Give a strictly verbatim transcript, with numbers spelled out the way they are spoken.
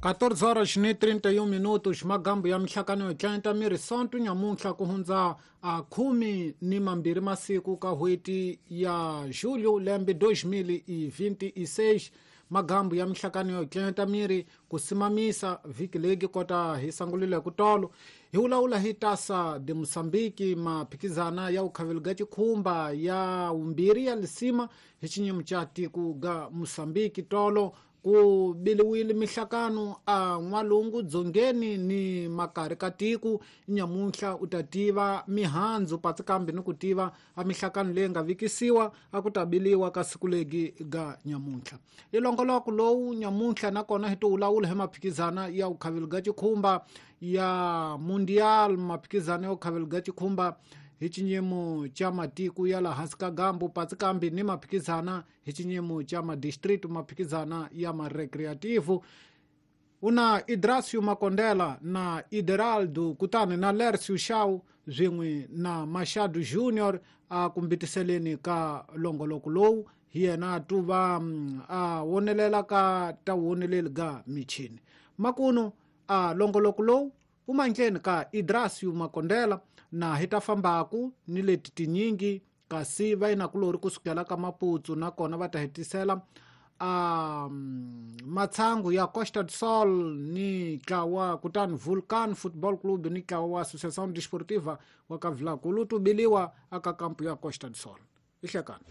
quatorze horas ni trinta e um minutos, magambo ya mihlakano yo tlanta miri sonto nyamuntlha ku hundza a khume ni mambirhi masiku ka n'hweti ya julho lembe dois mil e vinte e seis. Magambo ya mihlakano yo tlanta miri ku simamisa vhiki legi kota hi sangulile ku tolo hi vulavula hi Taça de Moçambique, maphikizana ya ukhavelo ga chikhumba ya umbirhi ya lisima hi xinyimo xa tiko ga Moçambique. Tolo ku biliwile mihlakano a n'walungu dzongeni ni makari ka tiko. Nyamuntlha u ta tiva mihandzu patsi kambe ni ku tiva a mihlakano leyi nga vikisiwa a ku ta biliwa ka siku legi ga nyamuntlha. I longoloko lowu nyamuntlha nakona hi to vulavula hi maphikizana ya ukhavelo ga chikhumba ya mundial, maphikizana ya ukhavelo ga chikhumba hi xinyimo xa matiko ya laha hansi ka gambu patsi kambe ni maphikizana hi xinyimo xa madistrict, maphikizana ya marecreativo. Una Idracio Makondela na Ideraldo kutani na Lercio Shaw swin'we na Machado Junior a kumbitiseleni ka longoloko lowu hi yena tuva a wonelela ka ta woneleli ga michini. Makuno a longoloko lowu umandleni ka Idracio Makondela na hi ta fambaku ni leti tinyingi kasi va yina kulori kusukela ka Maputo nakona va ta hetisela a matsangu ya Costa do Sol ni ntlawa kutani Vulcan Football Club ni ntlawa wa Associação Desportiva wa ka Vilankulu tubiliwa aka kampu ya Costa do Sol. Ihlekani.